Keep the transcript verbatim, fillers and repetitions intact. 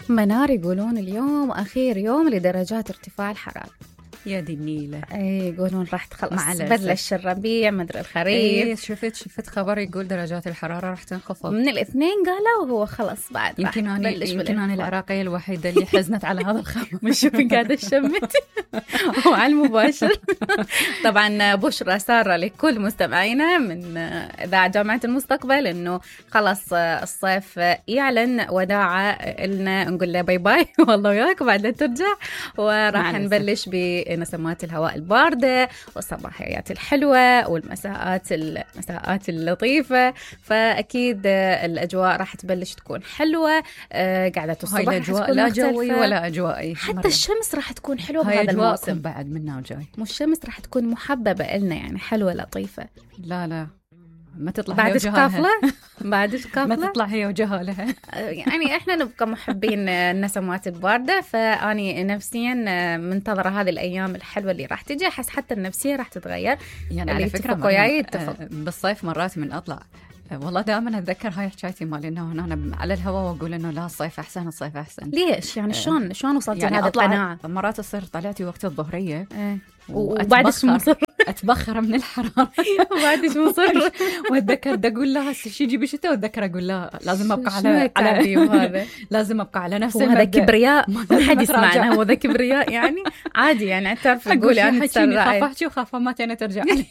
منار يقولون اليوم آخر يوم لدرجات ارتفاع الحرارة. يا دي النيلة. اي يقولون راح تخلص بلش الربيع مدري الخريف. اي شفت شفت خبر يقول درجات الحرارة راح تنخفض من الاثنين قالوا وهو خلص بعد يمكن أنا يمكن أنا العراقية الوحيدة اللي حزنت على هذا الخبر. مش شوفي قاعدة الشمت وعلى المباشر. طبعا بشرى سارة لكل مستمعينا من إذاعة جامعة المستقبل إنه خلص الصيف يعلن وداعة لنا، نقول له باي باي والله وياك بعد لا ترجع، وراح نبلش بنسمات الهواء الباردة والصباحيات الحلوة والمساءات المساءات اللطيفة، فأكيد الأجواء راح تبلش تكون حلوة. قاعدة الصباح هاي الأجواء لا جوي ولا أجوائي، حتى مرة. الشمس راح تكون حلوة بهذا الموسم بعد منا وجاي، مش الشمس راح تكون محببة إلنا يعني حلوة لطيفة. لا لا ما تطلع بعد كافلة بعد كافلة ما تطلع هي وجهالها. يعني احنا نبقى محبين النسمات الباردة، فاني نفسيا منتظرة هذه الايام الحلوة اللي راح تجي، احس حتى النفسية راح تتغير. يعني على فكرة بالصيف مرات من اطلع والله دائما اتذكر هاي حكايتي مال انه انا على الهواء واقول انه لا الصيف احسن الصيف احسن. ليش يعني شلون شلون وصلت يعني لهذه القناعة؟ مرات تصير طلعتي وقت الظهرية اه. وبعد شو مصر اتبخر من الحرارة وبعد شو مصر واتذكر بدي اقول لها شي يجي بشتاء، واتذكر اقول لها لازم ابقى على على هذا لازم ابقى على نفسي. هذا كبرياء ما حد يسمعنا، هو ذا كبرياء يعني عادي يعني تعرف تقولي انا خاف احكي وخاف ما تاني ترجع لي.